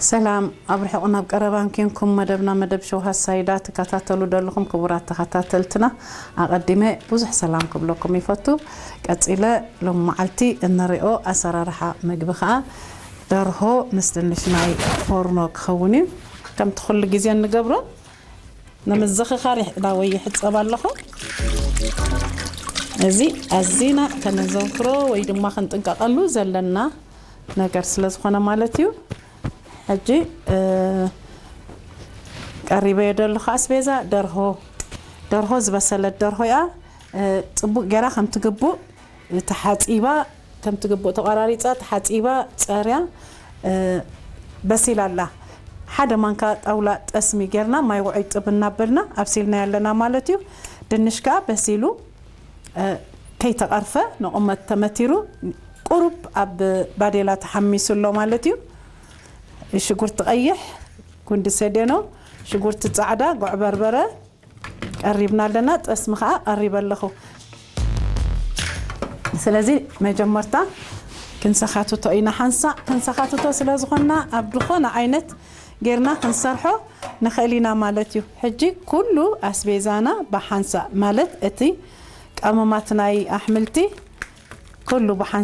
ሰላም፣ ኣብ ርሑቕ ናብ ቀረባን ኬንኩም መደብና መደብ ሸው ሃሳይዳ ትከታተሉ ዘለኹም ክቡራት ተኸታተልትና፣ ኣቐዲመ ብዙሕ ሰላም ክብለኩም ይፈቱ። ቀጺለ ሎም መዓልቲ እንሪኦ ኣሰራርሓ ምግቢ ኸኣ ደርሆ ምስ ድንሽ ናይ ፎርኖ ክኸውን እዩ። ከምቲ ኩሉ ግዜ እንገብሮ ንምዝኽኻር ይሕ-፣ ዳወይ ይሕጸብ ኣለኹ። እዚ ኣዚና ከነዘውትሮ ወይ ድማ ክንጥንቀቐሉ ዘለና ነገር ስለ ዝኾነ ማለት እዩ። ሕጂ፣ እ፣ ቀሪበዮ ዘለኹ ኣስቤዛ ደርሆ፣ ደርሆ ዝበሰለት ደርሆ እያ። እ፣ ጽቡቕ ጌራ ከም ትግቡእ ተሓጺባ፣ ከም ትግቡእ ተቆራሪጻ፣ ተሓጺባ፣ ጸርያ፣ እ፣ በሲላ ኣላ። ሓደ ማንካ ጣውላ ጠስሚ ጌርና ማይ ውዑይ ጥብ እናበልና ኣብሲልናያ ኣለና ማለት እዩ። ድንሽ ከኣ በሲሉ፣ እ፣ ከይተቐርፈ ንቑመት ተመቲሩ ቁሩብ ኣብ ባዴላ ተሓሚሱ ኣሎ ማለት እዩ። ሽጉርቲ ቀይሕ፣ ጉንዲ ሰዴኖ፣ ሽጉርቲ ጻዕዳ፣ ጉዕ በርበረ ቀሪብና ኣለና። ጠስሚ ከኣ ቀሪበ ኣለኹ። ስለዚ መጀመርታ ክንሰኻትቶ ኢና። ሓንሳእ ክንሰኻትቶ ስለ ዝኾንና ኣብ ዝኾነ ዓይነት ጌርና ክንሰርሖ ንኽእል ኢና ማለት እዩ። ሕጂ ኩሉ ኣስቤዛና ብሓንሳእ ማለት እቲ ቀመማት ናይ ኣሕምልቲ ኩሉ ብሓንሳእ